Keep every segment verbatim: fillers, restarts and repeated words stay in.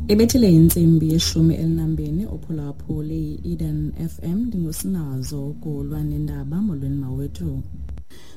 Ibethile intsimbi yeshumi elinambini uphulaphuli yi-Eden F M ndingusinazo ukulwa nendaba. Molweni mawethu.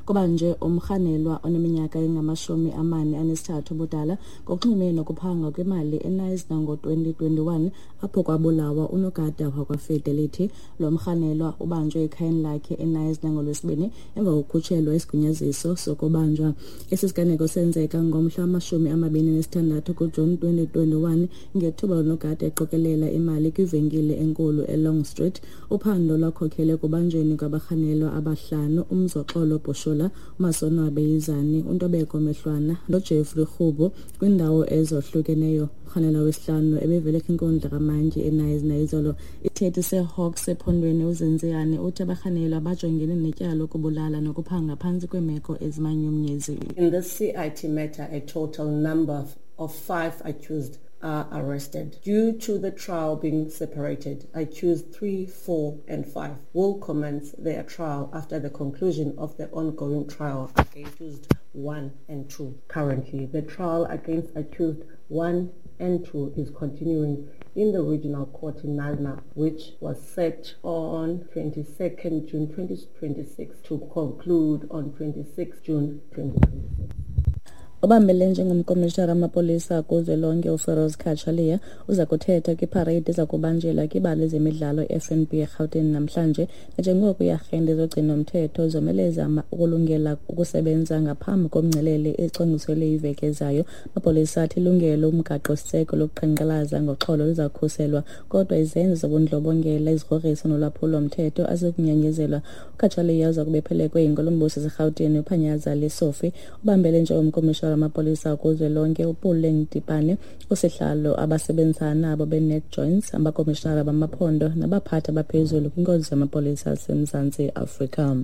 Kuba nje umrhanelwa oneminyaka engamashumi amane anesithathu ubudala ngokunxulumene nokuphanga kwimali eNysna ngo-twenty twenty-one apho kwabulawa unogada wakwaFidelity. Lo mrhanelwa ubanjwe ekhayeni lakhe eNysna ngoLwesibini emva kokukhutshelwa isigunyaziso sokubanjwa. Esi siganeko senzeka ngomhla wamashumi amabini nesithandathu kuJuni twenty twenty-one ngethuba unogada eqokelela imali kwivenkile enkulu eLong Street. Uphando lwakhokhele ekubanjweni kwabarhanelwa abahlanu: uMzoxolo Bhushola, uMasonwabe Yizani, uNtobeko Mehlwana noJeffrey Rhubo kwiindawo ezohlukeneyo. Umrhanelwa wesihlanu ebevele kwinkundla kamantyi eNysna izolo. Isithethi seHawks ephondweni uZenziyane uthi abarhanelwa bajongene netyala lokubulala nokuphanga phantsi kweemeko ezimanyumnyezi. In this C I T matter, a total number of five accused are arrested. Due to the trial being separated, accused three, four and five will commence their trial after the conclusion of the ongoing trial against accused one and two. Currently, the trial against accused one and two is continuing in the regional court in Knysna, which was set on twenty-second June twenty twenty-six to conclude on twenty-sixth June twenty twenty-six. Obambele njengomkomishinara wamapolisa kuzwelonke uFeroz Cachalia uza kuthetha kwiparade eza kubanjelwa kwibala lezemidlalo i-F N B eRhawutini namhlanje, nanjengoko iiarhente zogcino-mthetho zomeleza ukulungela ukusebenza ngaphambi komngcelele ecwangciselwe iveki ezayo. Amapolisa athi ilungelo umgaqo-siseko lokuqhankqalaza ngoxolo liza kukhuselwa, kodwa izenzo zobundlobongela, izigrogriso nolwaphulo-mthetho azikunyanyezelwa. UCachalia uza kube ephelekwe yinkulumbuso yaseRhawutini uPanyaza Lesufi. Ubambele njengomkomishinara amapolisa kuzwelonke uPuleng Dipane, usihlalo abasebenzisana nabo beNetJoints, abakomishinara bamaphondo nabaphathi abaphezulu kwinkonzo yamapolisa aseMzantsi Afrika.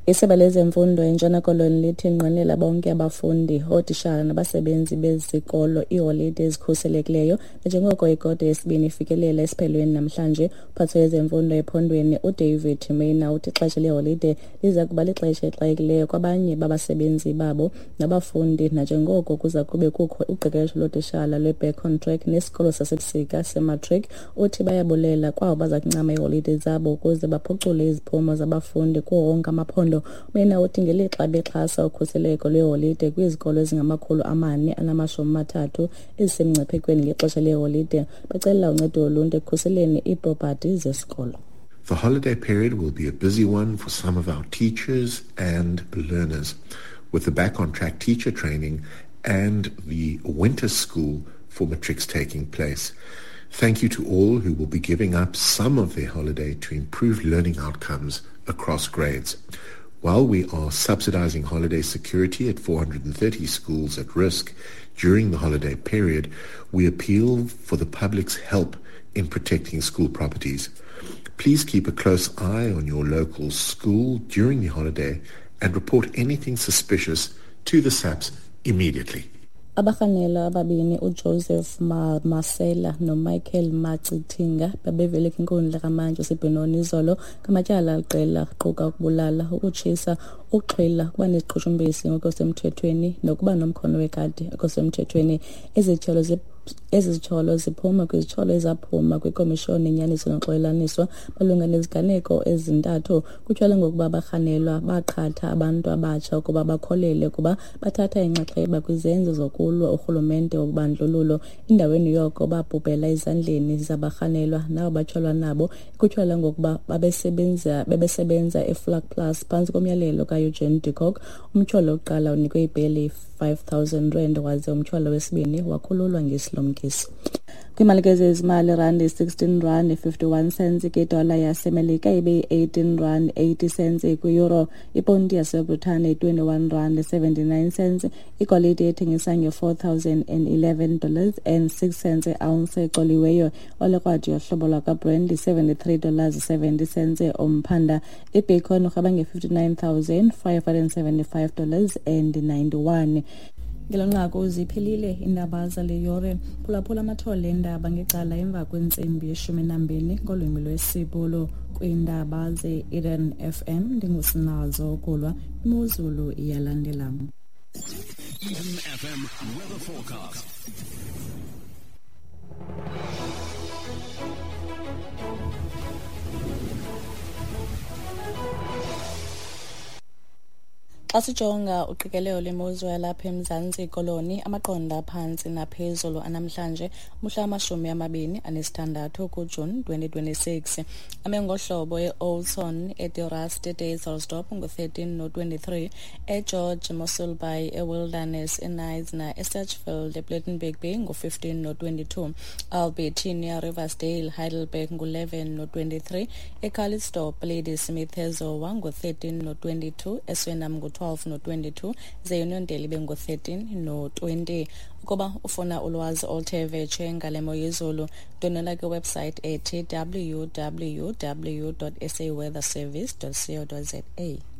Isebe lezemfundo eNtshona Koloni lithi inqwenela bonke abafundi, ootitshala nabasebenzi bezikolo iiholide ezikhuselekileyo nanjengoko ikota yesibini ifikelela esiphelweni namhlanje. Umphathi wezemfundo ephondweni uDavid Maina uthi ixesha leholide liza kuba lixesha elixakekileyo kwabanye babasebenzi babo nabafundi nanjengoko kuza kube kukho uqeqesho lootitshala lwe-Back on Track nesikolo sasebusika sematric. Uthi bayabulela kwabo baza kuncama iiholide zabo ukuze baphucule iziphumo zabafundi kuwo wonke amaphondo. Maina uthi ngelixa bexhasa ukhuseleko lweholide kwizikolo ezingamakhulu amane anamashumi amathathu ezisemngciphekweni ngexesha leholide, bacela uncedo loluntu ekukhuseleni iipropati zesikolo. The holiday period will be a busy one for some of our teachers and learners, with the Back on Track teacher training and the winter school for matrics taking place. Thank you to all who will be giving up some of their holiday to improve learning outcomes across grades. While we are subsidizing holiday security at four hundred and thirty schools at risk during the holiday period, we appeal for the public's help in protecting school properties. Please keep a close eye on your local school during the holiday and report anything suspicious to the S A P S immediately. Abarhanelwa ababini uJoseph Masela noMichael Macithinga babevele kwinkundla kamantyi yaseBenoni izolo ngamatyala aliqela aquka ukubulala, ukutshisa, ukuxhwila, ukuba neziqhushumbisi ngokusemthethweni nokuba nomkhono wekati ngokusemthethweni. Ezi Ezi zityholo ziphuma kwizityholo ezaphuma kwiKomishoni yeNyaniso noXolelaniso malunga neziganeko ezintathu. Kutyholwa ngokuba abarhanelwa baqhatha abantu abatsha ukuba bakholelwe ukuba bathatha inxaxheba kwizenzo zokulwa urhulumente wobandlululo. Endaweni yoko babhubhela ezandleni zabarhanelwa nabo batyholwa nabo, ekutyholwa ngokuba babesebenza bebesebenza eVlakplaas phantsi komyalelo kaEugene de Kock. Umtyholo wokuqala unikwe ibheyile five thousand rand waze umtyholo wesibini wakhululwa ngesilumkiso. Kwimali kezezimali, rand sixteen rand fifty-one cents kwidola yaseMelika ibe yi-eighteen rand eighty cents kwi-euro. Iponti yaseBritane twenty-one rand seventy-nine cents. Igolide ethengisa nge-four thousand and eleven dollars and six cents e-ounce ecoliweyo. Olekrwada yohlobo lwakwaBrent seventy-three dollars seventy cents umphanda. Ibacon urhaba nge-fifty-nine thousand five hundred seventy-five dollars and ninety-one. Ngelo nqaku ziphelile iindaba zale yure. Phulaphula amathole eendaba ngecala emva kwentsimbi yeshumi nambini ngolwimi lwesiBhulu. Kwiindaba ze-Eden F M ndingusinazo Kulwa. Imozulu iyalandela. Eden F M weather forecast. Xa sijonga uqikelelo lwemozulu yalapha eMzantsi Koloni, amaqondo aphantsi naphezulu anamhlanje umhla wamashumi amabini anesithandathu kuJuni twenty twenty-six. Ame ngohlobo e-Oudtshoorn, eDe-Rust, eDysselsdorp ngu-thirteen no-twenty-three, eGeorge, Mossel Bay, eWilderness, eKnysna, eSedgefield, ePlettenberg Bay ngu-fifteen no-twenty-two, Albertinia, Riversdale, Heidelberg ngu-eleven no-twenty-three, eCalitzdorp, Ladysmith, eZowa ngu-thirteen no-twenty-two, eSuriname ngu-twelve no-twenty-two, ze-Uniondale ibe ngu-thirteen no-twenty. Ukuba ufuna ulwazi oluthe vetshe ngale mo yezulu, ndwendwela kwiwebsite ethi w w w dot s a weather service dot co dot z a.